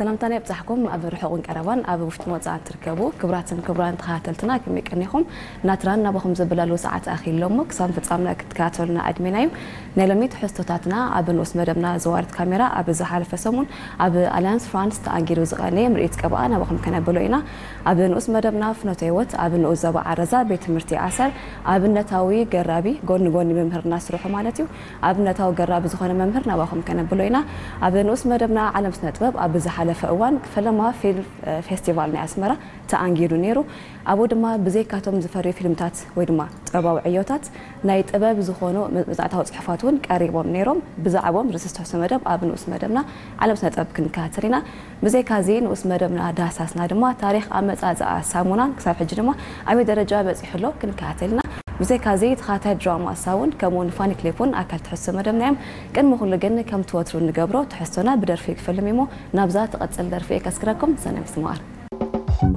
ሰላምታና ይብጻሕኩም። ኣብ ርሑቕን ቀረባን ኣብ ውሽጥን ወጻእን ትርከቡ ክቡራትን ክቡራን ተኸታተልትና፣ ከመይ ቀኒኹም? ናትራን ናባኹም ዘበላሉ ሰዓት ኣኺሉ እሞ ክሳብ ፍጻምና ክትከታተሉና ኣድሚና እዩ። ናይ ሎሚ ትሕዝቶታትና ኣብ ንኡስ መደብና ዘዋርት ካሜራ ኣብ ዝሓለፈ ሰሙን ኣብ ኣልያንስ ፍራንስ ተኣንጊዱ ዝቐነየ ምርኢት ቀብኣ ናባኹም ከነብሎ ኢና። ኣብ ንኡስ መደብና ፍኖተ ህይወት ኣብ ንኡስ ዞባ ዓረዛ ቤት ትምህርቲ ኣሰር ኣብነታዊ ገራቢ ጎኒ ጎኒ መምህርና ስርሑ ማለት እዩ ኣብነታዊ ገራቢ ዝኾነ መምህር ናባኹም ከነብሎ ኢና። ኣብ ንኡስ መደብና ዓለም ስነ ጥበብ ኣብ ዝሓለፈ እዋን ፈለማ ፊልም ፌስቲቫል ናይ ኣስመራ ተኣንጊዱ ነይሩ። ኣብኡ ድማ ብዘይካቶም ዝፈርዩ ፊልምታት ወይ ድማ ጥበባዊ ዕዮታት ናይ ጥበብ ዝኾኑ መ- መጽናዕታዊ ጽሑፋት እውን ቀሪቦም ነይሮም። ብዛዕባኦም ርእሲ ዝተሕሶ መደብ ኣብ ንኡስ መደብና ዓለም ስነ ጥበብ ክንከታተል ኢና። ብዘይካዚ ንኡስ መደብና ዳህሳስና ድማ ታሪኽ ኣመጻጽኣ ሳሙናን ክሳብ ሕጂ ድማ ኣበይ ደረጃ በጺሑ ኣሎ ክንከታተል ኢና። ብዘይካዚ ተኸታታይ ድራማ ሳውን ከምኡውን ፋኒ ክሊፕ እውን ኣካል ትሕዝቶ መደብና እዮም። ቅድሚ ኩሉ ግን ከምቲ ወትሩ እንገብሮ ትሕዝቶና ብደርፊ ክፈልም እሞ ናብዛ ትቐጽል ደርፊ እየ ከስክረኩም። ሰናይ ምስማር።